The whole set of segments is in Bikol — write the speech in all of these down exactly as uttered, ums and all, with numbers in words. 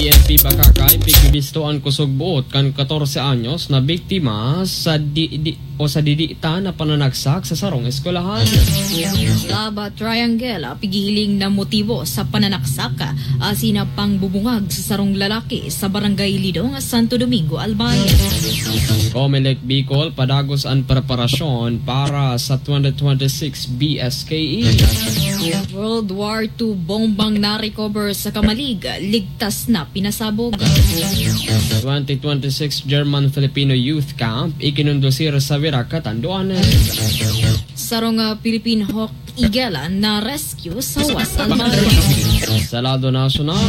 P N P Bacacay, pigbibisto an kusog buot kan katorse anyos na biktima sa di, di, o sa didiitan na pananagsak sa sarong eskwelahan. Love Triangle, pighihiling na motibo sa pananaksak asin pangbubungag sa sarong lalaki sa Barangay Lidong, Santo Domingo, Albay. Comelec Bicol, padagos an preparasyon para sa twenty twenty-six B S K E. World War two bombang na-recover sa Camalig, ligtas na pinasabog. Twenty twenty-six German-Filipino Youth Camp ikinondusir sa Virac, Catanduanes. Sarong, ah, Philippine Hawk Eagle na-rescue sa West Albay. Sa lado nasyonal,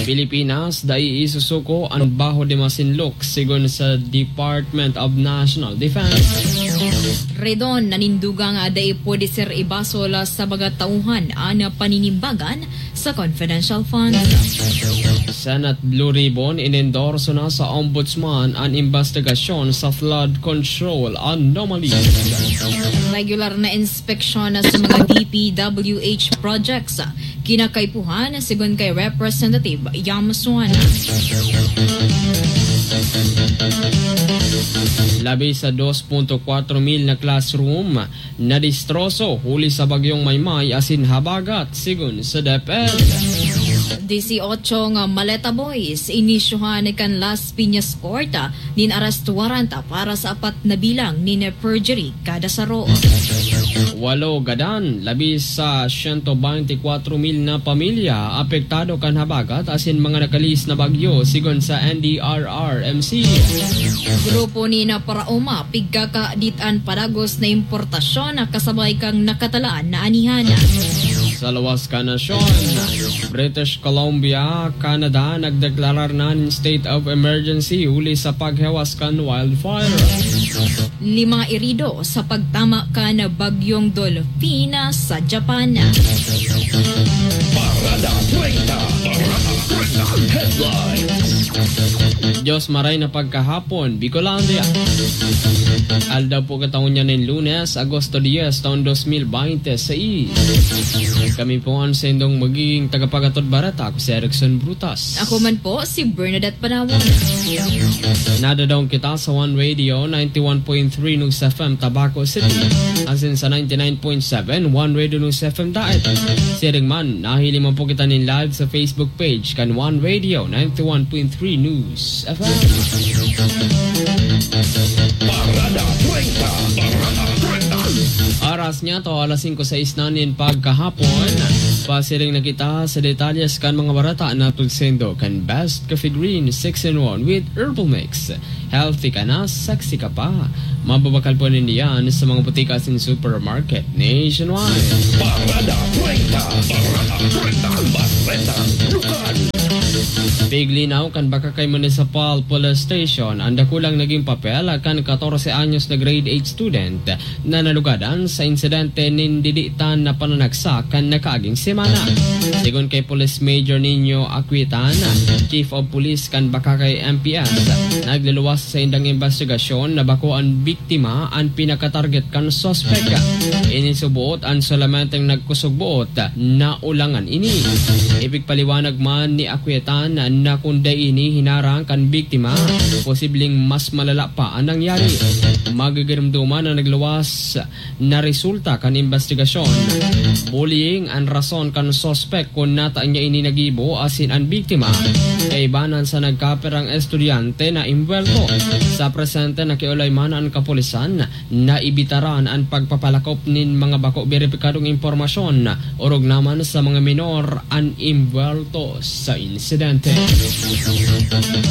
Pilipinas dai isusuko an Baho de Masinloc, sigon sa Department of National Defense. Redon, nanindugang, ah, dai pwede ser ibasol, ah, sa mga tauhan an paninimbagan sa confidential funds. Senate Blue Ribbon, inendorso na sa Ombudsman an investigasyon sa flood control anomalies. Regular na inspeksyon na sa mga D P W H projects, kinakaipuhan, sigon kay Representative Yam Suan. Labi sa dos punto kwatro mil na classroom, nadistroso huli sa bagyong Maymay asin habagat, sigon sa DepEd. Dieciocho nga Maleta Boys, inisyuhan kan Las Piñas Court, ah, nin arrest warrant, ah, para sa apat na bilang nin perjury kada saro. Walo gadan, labi sa siyento bente kwatro mil na pamilya apektado kan habagat asin mga nakalihis na bagyo, sigon sa N D R R M C. Grupo ni na Paraoma, pigkakaditan padagos na importasyon na kasabay kan nakatalaan na anihan. Sa lawas kan nasyon, British Columbia, Canada, nagdeklarar na nin state of emergency huli sa paghewas kan wildfire. Lima irido sa pagtama kan Bagyong Dolphina sa Japan. Parada treinta. Parada treinta. Headlines. Diyos maray na pagkahapon, Bicolandia. Aldaw po kataon niya nin Lunes, Agosto dies, taon dos mil bente seis. Kami po ang sendong magiging tagapagatod bareta. Ako si Erickson Brutas. Ako man po, si Bernadette Panawon. Nadadong kita sa One Radio, ninety-one point three News F M, Tabaco City. Asin sa ninety-nine point seven, One Radio News F M Daet. Siring man, nahiling man po kita nin live sa Facebook page kan One Radio, ninety-one point three News F M. Parada treinta. Parada treinta. Oras niya to, alas singko sais na nin pagkahapon. Pasiring na kita sa detalyes kan mga bareta na pagsendo kan Best Coffee Green six in one with Herbal Mix. Healthy ka na, sexy ka pa. Mababakal po ninyo yan sa mga butika asin supermarket nationwide. Parada treinta. Parada treinta. Bareta Lokal. Piglinaw kan Bacacay Municipal Police Station an dakulang naging papel kan katorse anyos na grade eight student na nalugadan sa insidente nin didiitan na pananagsak kan nakaaging semana. Sigon kay Police Major Nino Aquitan, Chief of Police kan Bacacay M P S, nagluluwas sa indang investigasyon na bako an biktima an pinakatarget kan suspek. Ini suboot an solamenteng nagkusog buot na ulangan ini. Ipigpaliwanag man ni Aquitan na kun dai ini hinarang kan biktima, posibleng mas malala pa an nangyari. Magigiromdoman na nagluwas na resulta kan investigasyon. Bullying an rason kan suspek kun nata niya ini nagibo asin an biktima kaibanan sa nagkapirang estudyante na imbwelto. Sa presente, nakiolay man an kapulisan na ibitaran an pagpapalakop nin mga bako beripikadong impormasyon, orog naman sa mga minor an imbwelto sa insidente.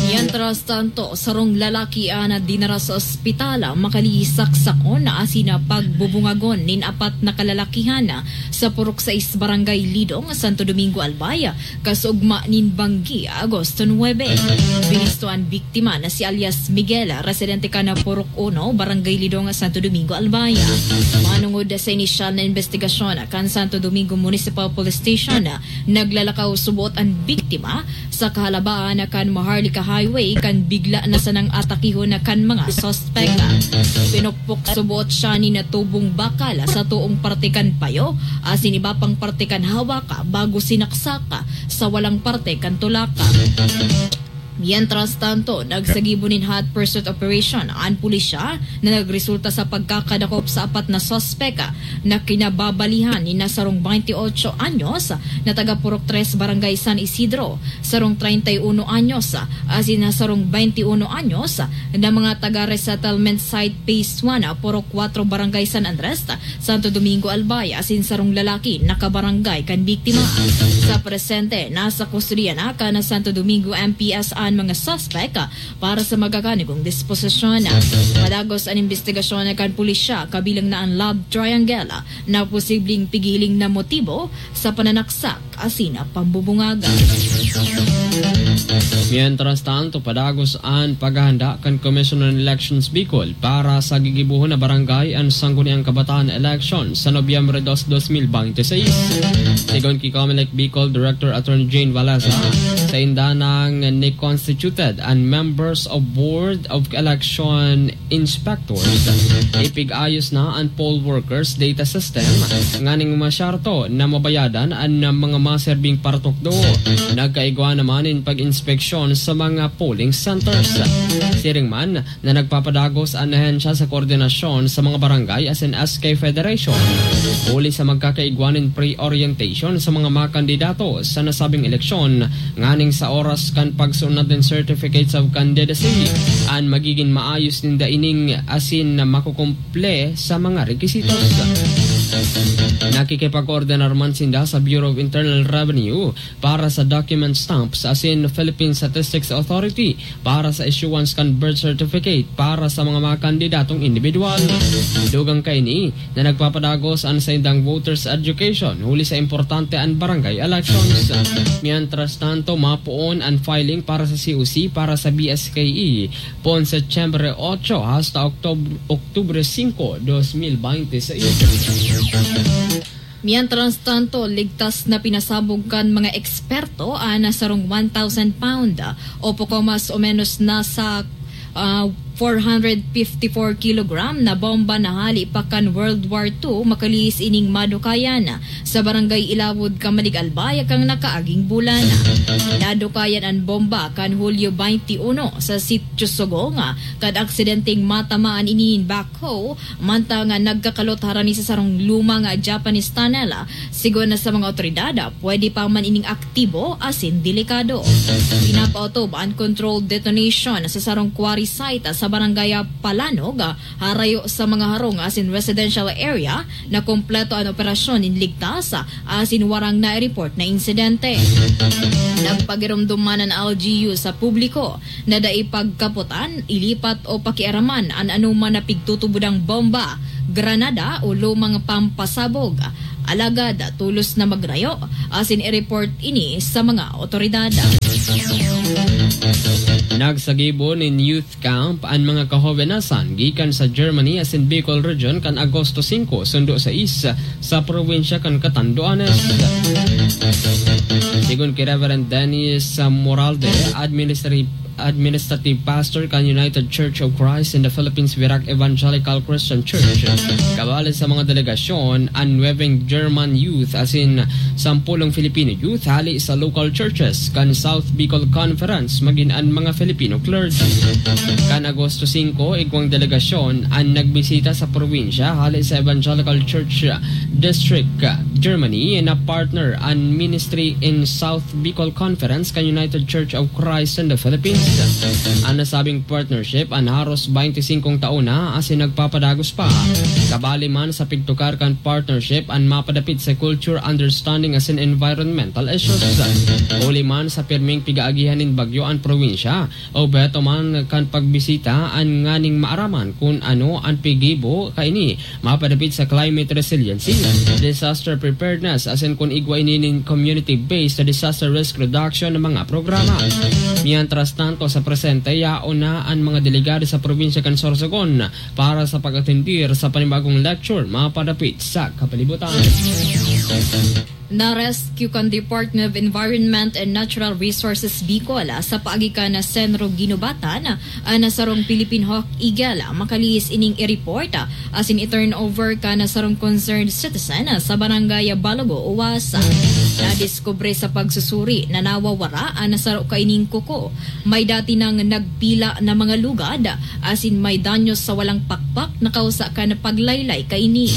Mientras tanto, sarong lalaki an dinara sa ospital, makalisaksakon asin pagbubungagon nin apat na kalalakihan sa Purok sais Barangay Lidong, Santo Domingo, Albay, kasugma nin banggi, Agosto nuebe. Binisto an biktima na si alias Miguel, residente kan Purok uno, Barangay Lidong, Santo Domingo, Albay. Manungod sa inisyal na investigasyon kan Santo Domingo Municipal Police Station, naglalakaw subot an biktima biktima sa kahalabaan na kan Maharlika Highway kan bigla na sanang atakihon na kan mga suspek. Pinukpok subot siya ni natubong bakal sa toong parte kan payo asin iba pang parte kan hawak bago sinaksak sa walang parte kan tulak. Mientras tanto, nagsagibo nin hot pursuit operation an pulisya na nagresulta sa pagkakadakop sa apat na suspek na kinababalihan ni na sarong twenty-eight anyos na taga Purok Tres, Barangay San Isidro, sarong treinta y uno anyos asin na sarong twenty y uno anyos na mga taga resettlement site Phase one, Purok Kuwatro, Barangay San Andres, Santo Domingo, Albay, asin sarong lalaki na kabarangay kan biktima. Sa presente, nasa kustodiya na kan Santo Domingo M P S an mga suspek para sa magaganigong disposisyon. Madagos an imbestigasyon kan pulisya, kabilang na an love triangle na posibleng pigiling na motibo sa pananaksak asin pambubungaga. Mientras tanto, padagos an paghahanda kan Commission on Elections Bicol para sa gigibohon na barangay an Sangguniang Kabataan Election sa Nobyembre dos, dos mil bente seis. Sigon ki Comelec Bicol Director Attorney Jane Valesa, sainda nang ni-constituted an members of Board of Election Inspectors. Ipig-ayos na an poll workers data system nganing masyarto na mabayadan an mga maserbing paratukdo. Nagkaigwa naman nin pag-inspeksyon sa mga polling centers. Siring man na nagpapadagos an ahensya sa koordinasyon sa mga barangay asin S K Federation huli sa magkakaigwa nin pre-orientation sa mga makandidato sa nasabing eleksyon nganing sa oras kan pagsunod nin Certificates of Candidacy, an magigin maayos ninda ining asin na makukumple sa mga requisitos. Nakikipag-koordinar man sinda sa Bureau of Internal Revenue para sa document stamps asin Philippine Statistics Authority para sa issuance kan birth certificate para sa mga, mga kandidatong individual. Dugang kaini, na nagpapadagos an saindang voters education huli sa importante an barangay elections. Mientras tanto, mapoon an filing para sa C O C para sa B S K E poon Setyembre otso hasta Oktob-, Oktubre singko, dos mil bente seis. Mientras tanto, ligtas na pinasabog kan mga eksperto an sarong one thousand pound o poko mas o menos nasa ah, four hundred fifty-four kilogram na bomba na hali pa kan World War two makalihis ining madukayan sa Barangay Ilawod, Camalig, Albay, kan nakaaging bulan. Nadukayan an bomba kan Hulyo twenty-one sa Sitio Sogong, kan aksidenteng matamaan ini nin backhoe mantang nagkakalot harani sa sarong luma nga Japanese tunnel. Sigon na sa mga otoridad, pwede pa man ining aktibo asin delikado. Pinapaotob an controlled detonation sa sarong quarry site sa Barangay Palanog, harayo sa mga harong asin residential area na kompleto an operasyon nin ligtas asin warang na-report na insidente. Nagpagiromdom man an L G U sa publiko na dai pagkapotan, ilipat o pakiaraman an anoman na pigtutubodang bomba, granada o lumang pampasabog. Alagad tolos na magrayo asin i-report ini sa mga otoridad. Nagsagibo nin youth camp an mga kahobenasan gikan sa Germany asin Bicol Region kan Agosto singko sundo sais sa probinsya kan Catanduanes. Sigon ki Reverend Dennis Moralde, administrative, administrative pastor kan United Church of Christ in the Philippines, Virac Evangelical Christian Church, kabali sa mga delegasyon an nuwebeng German youth asin sampolong Filipino youth hali sa local churches kan South Bicol Conference, magin an mga Filipino clergy. Kan Agosto singko, igwang delegasyon an nagbisita sa probinsya hali sa Evangelical Church District, Germany, na partner an ministry in South Bicol Conference kan United Church of Christ in the Philippines. An nasabing partnership an haros twenty-singkong taon na asin nagpapadagos pa. Kabali man sa pigtukar kan partnership an mapadapit sa culture, understanding asin environmental issues. Huli man sa pirming pigaagihan nin bagyo an probinsya, obheto man kan pagbisita an nganing maaraman kun ano an pigibo kaini mapadapit sa climate resiliency, disaster preparedness, asin kun igwa ini nin community-based disaster risk reduction na mga programa. Mientras tanto, sa presente, yaon na an mga delegado sa probinsya kan Sorsogon para sa pag-atendir sa panibagong lecture mapadapit sa kapalibutan. Na-rescue kan Department of Environment and Natural Resources Bicol, ah, sa paagi kan Senro Guinobatan, ah, na sarong Philippine Hawk Eagle, ah, makalihis ining i-report, ah, asin i-turnover kan sarong concerned citizen, ah, sa Barangay Balogo, Uwas. Nadiskubre sa pagsusuri na nawawara an saro kaining kuko. May dati nang nagpila na mga lugad, asin may danyos sa walang pakpak na kausa kan paglaylay kaini.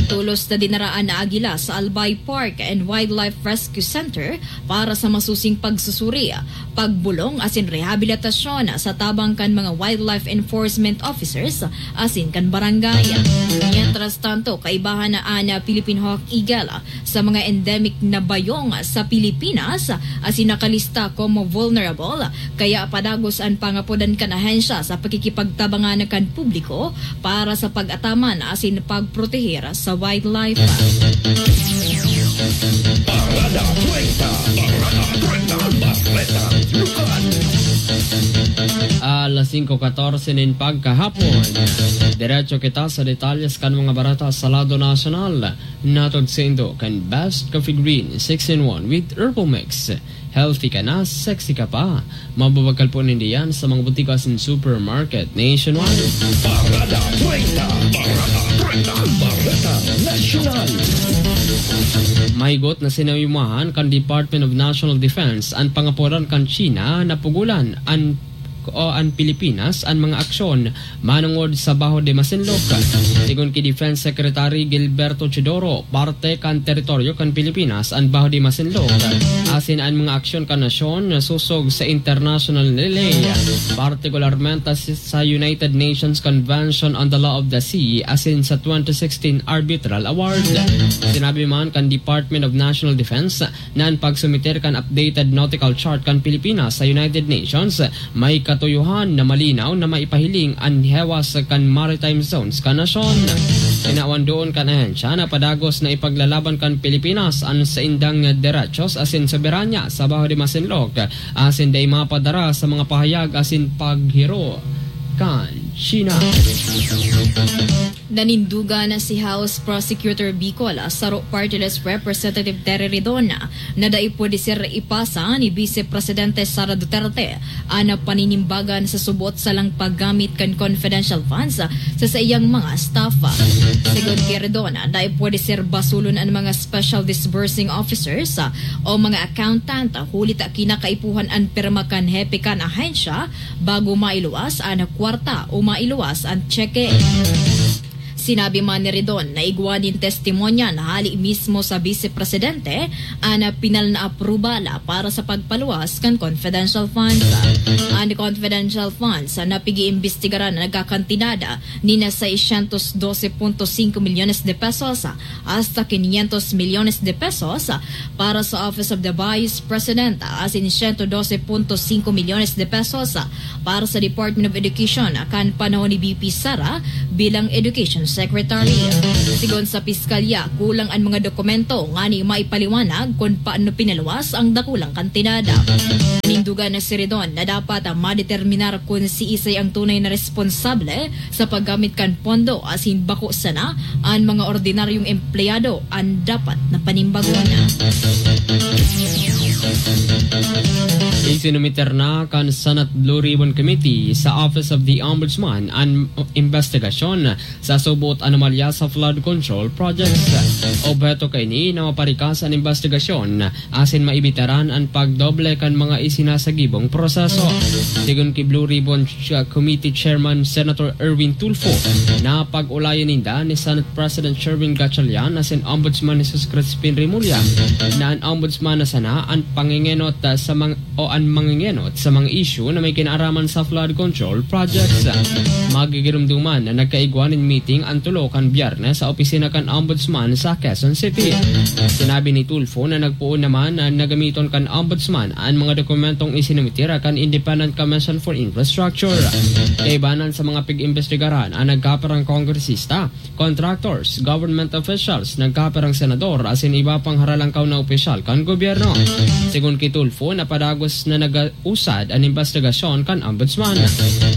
Tolos na dinara an agila sa Albay Park and Wildlife Rescue Center para sa masusing pagsusuri, pagbulong asin rehabilitasyon sa tabang kan mga wildlife enforcement officers asin kan barangay. Mientras tanto, kaibahan na an Philippine Hawk Eagle sa mga endemic na bayong sa Pilipinas, asin nakalista como vulnerable, kaya padagos an pangapodan kan ahensya sa pakikipagtabangan kan publiko para sa pag-ataman asin pagproteher sa wildlife. Parada treinta, Parada treinta, Bareta, Lukan. Alas singko katorse nin pagkahapon. Diretso kita sa detalyes kan mga bareta sa lado nasyonal. Natod saindo kan Best Coffee Green six-in-one with Herbal Mix. Healthy ka na, sexy ka pa. Mababakal po ninda yan sa mga butika asin supermarket nationwide. Parada treinta, Parada treinta, Bareta Nasyonal. Mahigot na sinayumahan kan Department of National Defense an pangapodan kan China na pugulan an o an Pilipinas an mga aksyon manongod sa Baho de Masinloc. Sigon ki Defense Secretary Gilberto Teodoro, parte kan teritoryo kan Pilipinas an Baho de Masinloc, asin an mga aksyon kan nasyon na sosog sa international na ley, partikularmente sa, sa United Nations Convention on the Law of the Sea asin sa twenty sixteen Arbitral Award. Sinabi man kan Department of National Defense na an pagsumiter kan updated nautical chart kan Pilipinas sa United Nations may katuyohan na malinaw na maipahiling an hewas kan maritime zones kan nasyon. Tinawan doon kan ahensya na padagos na ipaglalaban kan Pilipinas an saindang derechos asin soberanya sa Baho de Masinloc, asin dai mapadara sa mga pahayag asin paghiro kan China. Nanindugan si House Prosecutor Bicol, saro party list Representative Terry Ridon, na dai pwede ser ipasa ni Vice Presidente Sara Duterte an paninimbagan sa subot sa lang paggamit kan confidential funds sa saiyang mga staff. Sigon ki Ridon, dai pwede ser basulon an mga special disbursing officers o mga accountant, huli ta kinakaipuhan an pirma kan hepe kan ahensya bago mailuwas an kwarta o mailuwas an tseke. Sinabi man ni Ridon na igwa nin testimonya na hali mismo sa Vice Presidente an pinal na aprobal para sa pagpaluwas kan confidential funds. An confidential funds na pig-iimbestigaran na nagkakantidad nin seiscientos doce punto cinco milyones de pesos hasta quinientos milyones de pesos para sa Office of the Vice President, asin ciento doce punto cinco milyones de pesos para sa Department of Education kan panahon ni V P Sara bilang Education Secretary. Sigon sa Piskalya, kulang an mga dokumento ngani maipaliwanag kun paano pinaluwas ang dakulang kantidad. Nanindugan si Ridon na dapat madeterminar kun siisay ang tunay na responsable sa paggamit kan pondo, asin bako sana an mga ordinaryong empleyado an dapat na panimbagon. Isinumiter na kan Senate Blue Ribbon Committee sa Office of the Ombudsman an investigasyon sa subot anomalya sa flood control projects. Obheto kaini na maparikas an investigasyon asin maibitaran an pagdoble kan mga isinasagibong proseso. Sigon ki Blue Ribbon Ch-, Committee Chairman Senator Erwin Tulfo, na pag-ulayan ninda ni Senate President Sherwin Gatchalian asin Ombudsman Jesus Crispin Remulla na an Ombudsman na sana an pangengenot, ah, sa mga, o an mangengenot sa mga isyu na may kinaaraman sa flood control projects. Magigirumduman na nagkaigwa nin meeting an tulo kan Biyernes sa opisina kan Ombudsman sa Quezon City. Sinabi ni Tulfo na nagpoon naman na nagamiton kan Ombudsman an mga dokumentong isinumiter kan Independent Commission for Infrastructure. Kaibanan sa mga pig-imbestigaran an nagkaperang kongresista, contractors, government officials, nagkaperang senador asin iba pang haralangkaw na opisyal kan gobyerno. Sigon ki Tulfo, napadagos na nagausad an imbestigasyon kan Ombudsman.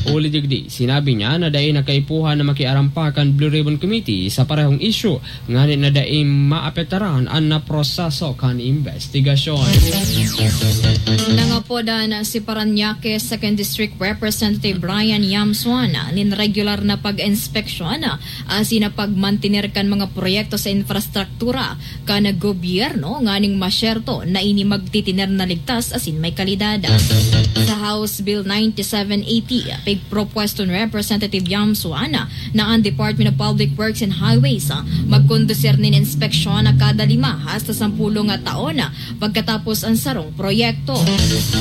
Huli digdi, sinabi niya na dai na kaipuhan na makiaram pa kan Blue Ribbon Committee sa parehong isyu, ngani na dai maapektaran an naproseso kan imbestigasyon. Nangapodan si Parañaque Second District Representative Brian Yam Suan nin regular na pag-inspeksyon asin na pagmantener kan mga proyekto sa infrastruktura kan gobyerno nganing masyerto na ini magtitiner na ligtas asin may kalidad. Sa House Bill ninety-seven eighty, pigpropuesto ni Representative Yam Suan na ang Department of Public Works and Highways, ah, magkondusir nin inspeksyon na kada lima hasta sampolo nga taon, ah, pagkatapos ang sarong proyekto.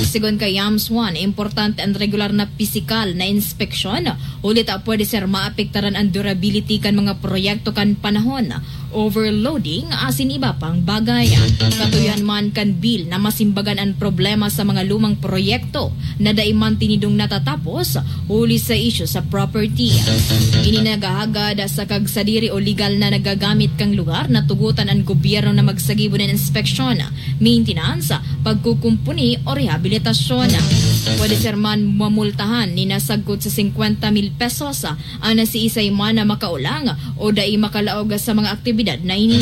Sigon kay Yam Suan, importante ang regular na pisikal na inspeksyon, huli ta pwede ser maapektaran ang durability kan mga proyekto kan panahon, overloading, asin iba pang bagay. Katuyohan man kan bill na masimbagan an problema sa mga lumang proyekto na dai man tinidong natatapos huli sa isyu sa property. Ini naghahagad sa kagsadiri o legal na nagagamit kan lugar na tugotan an gobyerno na magsagibo nin inspeksyon, maintenance, pagkukumpuni o rehabilitasyon. Pwede ser man mamultahan nin nasagkod sa singkwenta mil pesos an siisay man na makaolang o dai makalaog sa mga aktibidad na ini.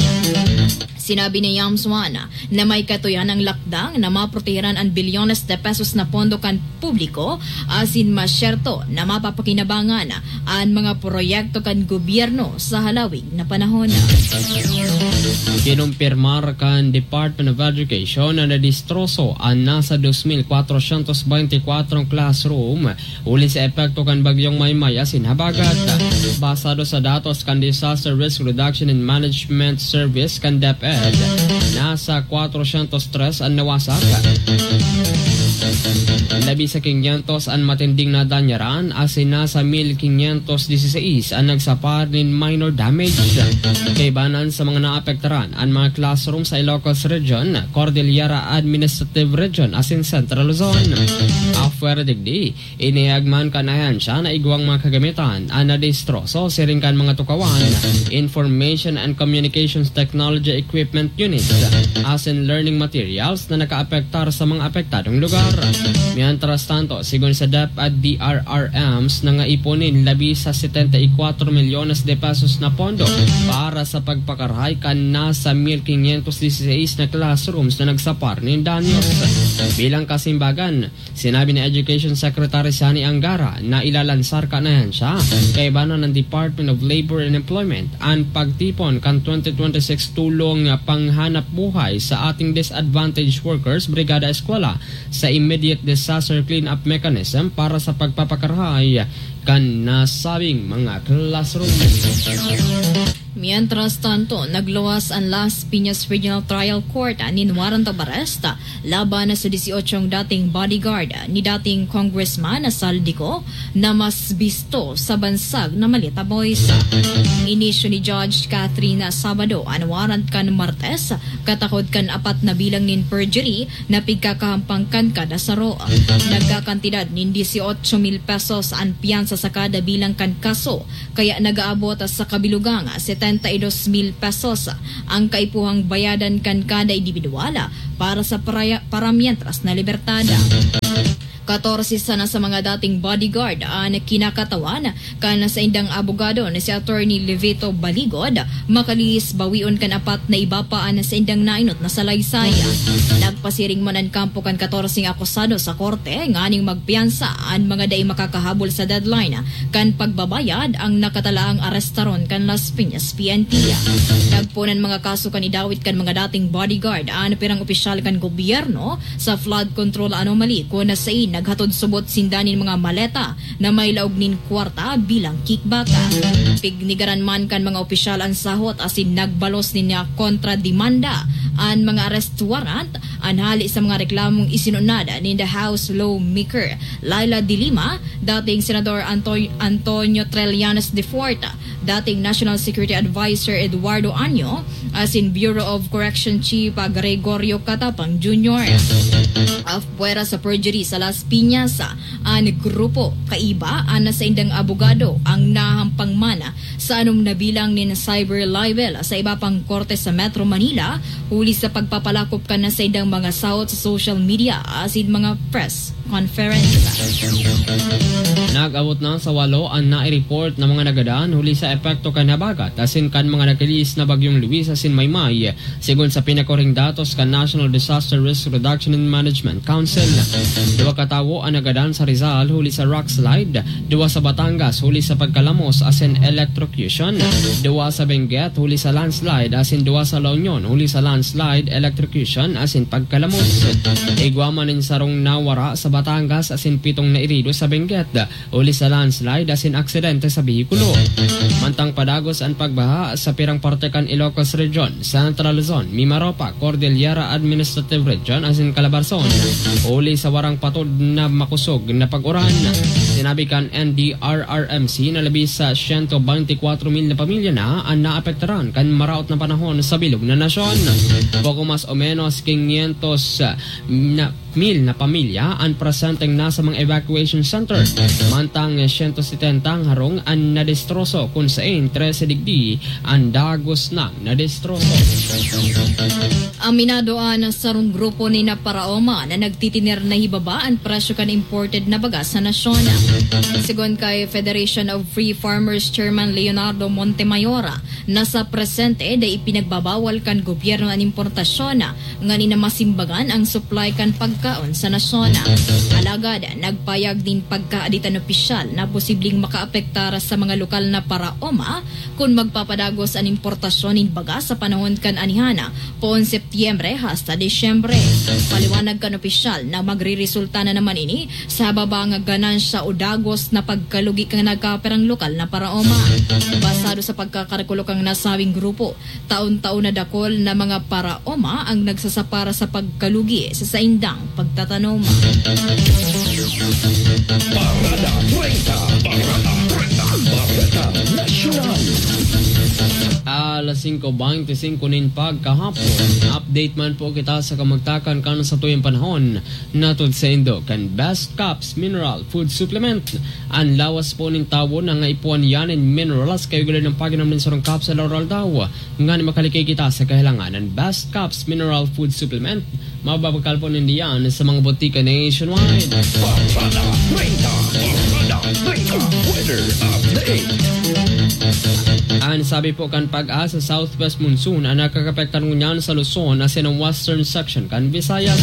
Sinabi ni Yam Suan na may katuyan ang lakdang na maprotehiran an bilyones de pesos na pondo kan publiko asin masyerto na mapapakinabangan an mga proyekto kan gobyerno sa halawig na panahon. Kinumpirmar kan Department of Education na nadistroso an nasa dos mil kwatrosyentos beintikwatro classroom huli sa epekto kan Bagyong Maymay asin habagat. Basado sa datos kan Disaster Risk Reduction and Management Service kan DepEd, nasa kwatrosyentos tres an nawasak. Labi sa kinyentos an matinding nadanyaran, asin nasa mil kinyentos diseseis an nagsapar nin minor damage. Kaibanan sa mga naapektaran, an mga classroom sa Ilocos Region, Cordillera Administrative Region, asin Central Luzon. Apwera digdi, inihayag man kan ahensya na igwang mga kagamitan an nadistroso siring kan mga tukawan, information and communications technology equipment units, asin learning materials na nakaapektar sa mga apektadong lugar. Mientras tanto, sigon sa DepEd, DRRMs, nangaipon nin labi sa setenta y cuatro milyones de pesos na pondo para sa pagpakarahay kan nasa mil quinientos dieciséis na classrooms na nagsapar nin danyos. Bilang kasimbagan, sinabi ni Education Secretary Sani Angara na ilalansar kan ahensya, kaibanan ng Department of Labor and Employment, an pagtipon kan twenty twenty-six tulong panghanap buhay sa ating disadvantaged workers, Brigada Eskwela, sa immediate disaster cleanup mechanism para sa pagpapakarahay kan nasabing mga classroom. Mientras tanto, nagluwas an Las Piñas Regional Trial Court nin warrant of arrest laban sa dieciocho dating bodyguard ni dating Congressman Saldico na mas bisto sa bansag na Maleta Boys. Inisyu ni Judge Catherine Sabado an warrant kan Martes, katakod kan apat na bilang nin perjury na pigkakahampang kan kada saro. Nagkakantidad nin dieciocho mil pesos an piyansa sa kada bilang kan kaso, kaya nag-aabot sa kabilugang setenta y dos mil pesos ang kaipuhang bayadan kan kada indibidwal para sa paraya-, paramientras na libertad. Katorse sana sa mga dating bodyguard an kinakatawan kan saindang abogado na si Attorney Levito Baligod, makalihis bawion kan apat na iba pa an saindang nainot na salaysay. Nagpasiring man an kampo kan katorseng akusado sa korte nganing magpiyansa an mga dai makakahabol sa deadline kan pagbabayad ang nakatalaang arestaron kan Las Piñas P N P. Nagpoon an mga kaso kan idawit kan mga dating bodyguard an pirang opisyal kan gobyerno sa flood control anomaly, kun sain naghatod subot sinda nin mga maleta na may laog nin kwarta bilang kickback. Pignigaran man kan mga opisyal an sahot asin nagbalos nin kontrademanda an mga arrest warrant, an hali sa mga reklamong isinunod ninda House Lawmaker Leila de Lima, dating Senador Anto-, Antonio Trillanes de Fort, dating National Security Advisor Eduardo Año, asin Bureau of Correction Chief Gregorio Catapang Junior. Apwera sa perjury sa Las Piñas, an grupo kaiba an saindang abogado ang nahampang man sa anom na bilang nin cyber libel sa iba pang korte sa Metro Manila, huli sa pagpapalakop kan saindang mga sahot sa social media asin mga press conference. Nag-abot na sa walo an nai-report na mga nagadan huli sa epekto kan habagat asin kan mga nakilis na Bagyong Luis asin Maymay, sigon sa pinakuring datos kan National Disaster Risk Reduction and Management Council. Duwa ka tawo an nagadan sa Rizal huli sa rock slide, duwa sa Batangas huli sa pagkalamos asin electrocution, duwa sa Benguet huli sa landslide asin duwa sa La Union huli sa landslide, electrocution asin pagkalamos. Igwa man nin sarong nawara sa Batangas asin pitong nairido sa Benguet huli sa landslide asin aksidente sa behikulo. Mantang padagos an pagbaha sa pirang parte kan Ilocos Region, Central Luzon, Mimaropa, Cordillera Administrative Region asin Calabarzon, huli sa warang patod na makosog na pag-uran. Sinabi kan N D R R M C na labi sa siyento beintikwatro mil na pamilya na an naapektaran kan maraot na panahon sa bilog na nasyon. Poco mas o menos quinientos na mil na pamilya an presenteng nasa mga evacuation center, mantang siyento setenta ang harong an nadestroso, kun sain trese digdi an dagos nang nadestroso. Aminado an sarong grupo nin Paraoma na nagtitiner na hibaba an presyo kan imported na baga sa nasyon. Sigon kay Federation of Free Farmers Chairman Leonardo Montemayor, na sa presente dai ipinagbabawal kan gobyerno an importasyon, nganing masimbagan ang supply kan pagkaon sa nasyon. Alagad nagpayag nin pagkaaditan opisyal na posibleng makaapektar sa mga lokal na Paraoma kun magpapadagos an importasyon nin baga sa panahon kan anihan, poon Setyembre hasta Disyembre. Paliwanag kan opisyal na magreresulta na naman ini sa hababa nga ganansya o dagos na pagkalugi kan nagkapirang lokal na Paraoma. Basado sa pagkakalkulo kan nasabing grupo, taon-taon na dakul na mga Paraoma ang nagsasapara sa pagkalugi sa saindang pagtatanom. Parada treinta, Parada treinta, Bareta Nasyonal. Alas singko beintisinko nin pagkahapon, update man po kita sa kamugtakan kan satuyang panahon. Natud sa indo kan Best Caps Mineral Food Supplement. An lawas po nin tawo na nga ipuan yan in minerals kayo galing ng paginaw ng sarong capsule or aldaw. Ngani makalikay kita sa kahilangan ng Best Caps Mineral Food Supplement. Mababakal po nindiyan sa mga botika nationwide. Parada treinta, Parada treinta, weather update. An sabi po kan Pag-asa, southwest monsoon ang nakakapektar ngunyan sa Luzon asin ang western section kan Visayas.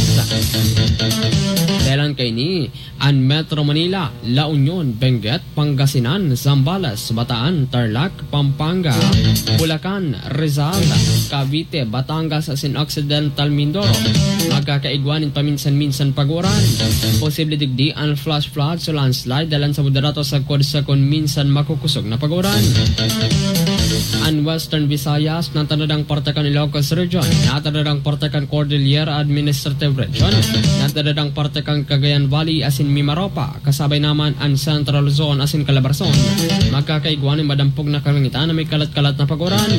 Dahelan kaini, an Metro Manila, La Union, Benguet, Pangasinan, Zambales, Bataan, Tarlac, Pampanga, Bulacan, Rizal, Cavite, Batangas asin Occidental Mindoro, magkakaigwa nin paminsan-minsan pag-uran. Posible digdi an flash floods o landslide dalan sa moderato sagkod sa kun minsan makukusog na pag-uran. An Western Visayas, natadadang parte kan Ilocos Region, natadadang parte kan Cordillera Administrative Region, natadadang parte kan Cagayan Valley asin Mimaropa, kasabay naman an Central Luzon asin Calabarzon. Magkakaigwa nin madampog na kalangitan na may kalat-kalat na pag-uran.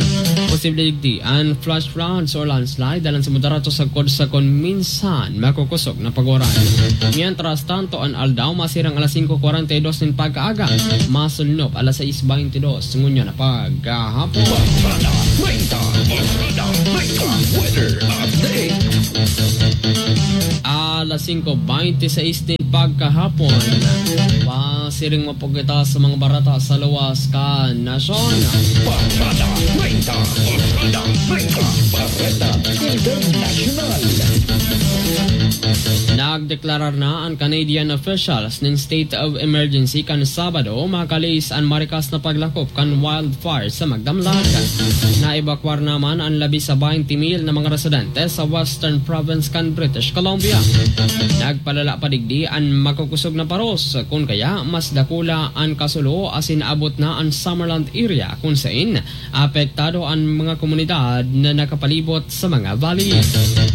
Posible digdi an flash floods or landslide dalan sa moderato sagkod sa kun minsan makukusog na pag-uran. Mientras tanto, an aldaw masirang alas singko kwarenta y dos nin pagkaaga, masulnop alas sais beintidos ngunyan na pagkahapon. Barada treinta, Barada treinta, weather update. Alas singko beintisais nin pagkahapon. Pasiring mo po kita sa mga barata sa luwas kan nasyon. Barada treinta, Barada treinta, Barada International. Nagdeklarar na an Canadian officials nin state of emergency kan Sabado, makalis an marikas na paglakop kan wildfire sa magdamlag. Naebakwar naman an labi sa baynte mil na mga residente sa western province kan British Columbia. Nagpalala pa digdi an makukusog na paros, kun kaya mas dakula an kasulo asin abot na an Summerland area, kun sain apektado an mga komunidad na nakapalibot sa mga valley.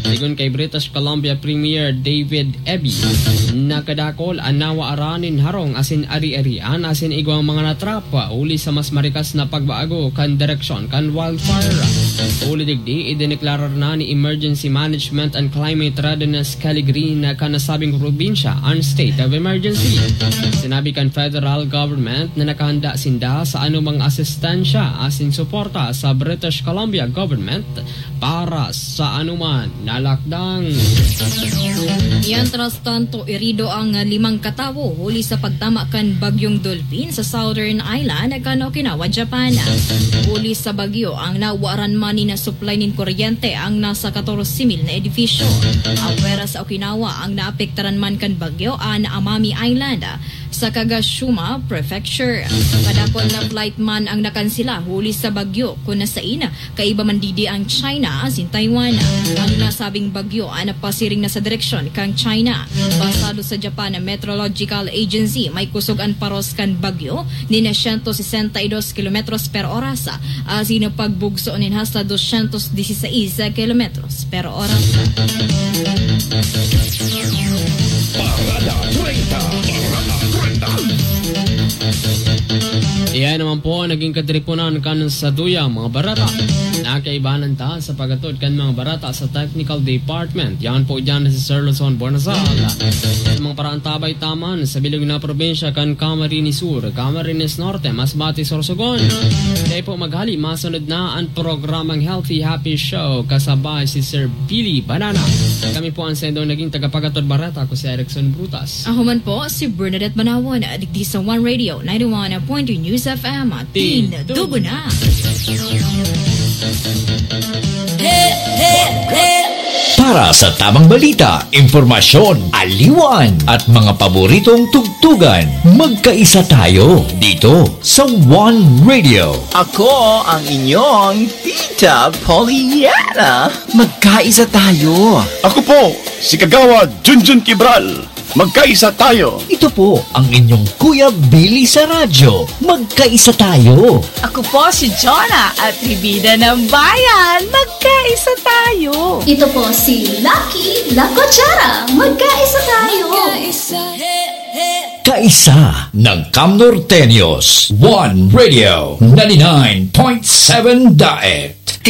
Sigon kay British Columbia Premier David Eby, nakadakol an nawaaran nin harong asin ari-arian asin igwang mga natrap huli sa mas marikas na pagbago kan direksyon kan wildfire. Huli digdi, idineklarar na ni Emergency Management and Climate Readiness Kelly Green na kan nasabing probinsya an state of emergency. Sinabi kan federal government na nakahanda sinda sa anumang asistensya asin suporta sa British Columbia government para sa anuman na lakdang. Mientras tanto, irido ang limang katawo huli sa pagtama kan Bagyong Dolphin sa Southern Island kan Okinawa, Japan. Huli sa bagyo, ang nawaran man ni na supply nin kuryente ang nasa katorse mil na edifisyo. Apwera sa Okinawa, ang naapektaran man kan bagyo an Amami Island sa Kagoshima Prefecture. Kadakul na flight man ang nakansela huli sa bagyo, kun nasain kaiba man digdi ang China asin Taiwan. An nasabing bagyo an napasiring na sa direksyon kan China. Basado sa Japan Meteorological Agency, may kusog an paros kan bagyo nin siyento sesenta y dos kilometros per oras, asin pagbugso nin hasta dosyentos dieciséis kilometros per oras. Parada treinta. Parada treinta. Iyan naman po ang naging katiriponan kan sa duya mga barata. Nakaibanan ta sa pagatod kan mga barata sa technical department. Yan po dyan si Sir Luzon Buenasal. Sa mga paraang tabay taman sa bilog na probinsya kan Camarines Sur, Camarines Norte, Masbate, Sorsogon. Kaya po maghali, masunod na ang programang Healthy Happy Show kasabay si Sir Billy Banana. Kami po ang sendong naging tagapagatod barata ko si Erickson Brutas. Ako man po si Bernadette Manawon, digdi sa One Radio ninety-one point two News F M. Tin, dugo na! Para sa tamang balita, impormasyon, aliwan, at mga paboritong tugtugan, magkaisa tayo dito sa One Radio. Ako ang inyong Tita Pollyanna. Magkaisa tayo. Ako po, si Kagawad Junjun Kibral. Magkaisa tayo. Ito po ang inyong Kuya Billy sa radyo. Magkaisa tayo. Ako po si Jonah, atribida ng bayan. Magkaisa tayo. Ito po si Lucky La Cuchara. Magkaisa tayo. Kaisa ng Cam Norteños. One Radio, ninety-nine point seven Daet.